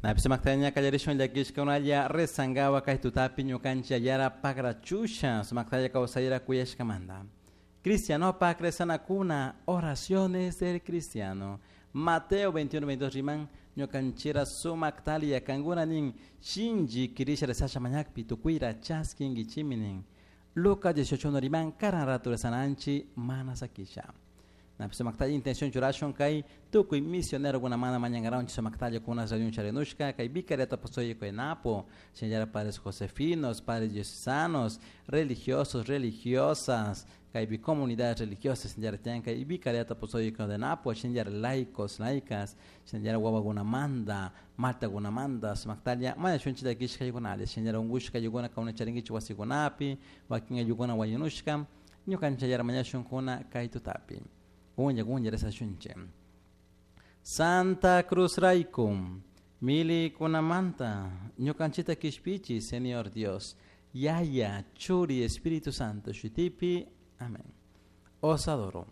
Napi sumaktalla qallarishun llakishkunalla rezangawa kay tutapi ñukanchik yara pagrachusha sumaktalla kawsayra kuyashkamanta. Cristianopak rezanakuna oraciones del cristiano. Mateo 21, 22 riman ñukanchira sumaktalla kankuna nin shinlli kirisha rezasha mañakpi tukuyra chaskinkichimi nin. Lucas 18 riman karan ratu rezananchi mana sakisha. Napi sumaktalla intención churashun kay tukuy misionerokunamanta mañankaranchik sumaktalla kuna rayun charinushka kay vicariato apostólico de Napo, señora padres josefinos, padres diocesanos, religiosos, religiosas, kay comunidades religiosas señora tian kay vicariato apostólico de Napo, señora laicos, laicas, señora wawakunamanta, maltakunamanta, sumaktalla mañashunchik llakishkaykunalla, señora unkushka ayllunkuna kawna charinkichik wasikunapi, wakin ayllunkuna wañunushka, ñukanchik yara mañashunkuna kay tutapi. Kunlla kunlla rezashunchik. Santa Cruz rayku, milikunamanta, ñukanchikta kishpichi, Señor Dios, Yaya, Churi, Espíritu Santo, shutipi, amén. Os adoro.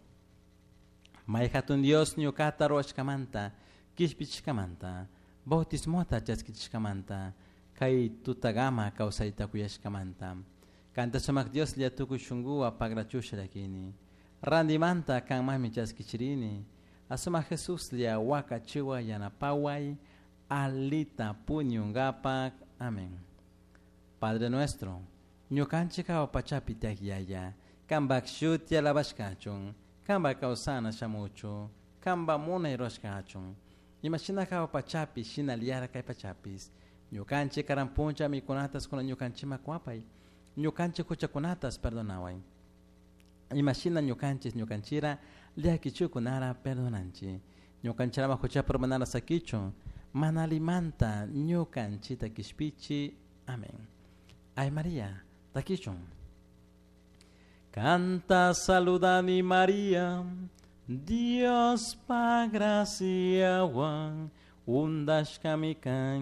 May hatun Dios ñukata ruwashkamanta, kishpichishkamanta, bautismota chaskichishkamanta, kay tutagama kawsayta kuyashkamanta. Kanta sumak Dios lla tukuy shunkuwan pagrachusha llakini. Randimanta kanmanmi chaskichirini. Asuma Jesús lla wakachiwa yanapaway, alita puñungapak. Amén. Padre nuestro, ñukanchik hawa pachapi tiyak Yaya, kanpak shuti alabashkachun, kanpak kawsana shamuchun, kanpak munay rurashkachun. Imashina hawa pachapi shinallara kay pachapis. Ñukanchik karan puncha mikunatas kuna ñukanchikman kuwapay, ñukanchik huchakunatas perdonaway. Imashina ñukanchik ñukanchira llakichukunara perdonanchik. Ñukanchirama huchapi urmanara sakichun, mana alimanta ñukanchita kishpichi. Amén. Ay María, takichun. Canta saludani María, Dios pa graciawan, undashkami kan.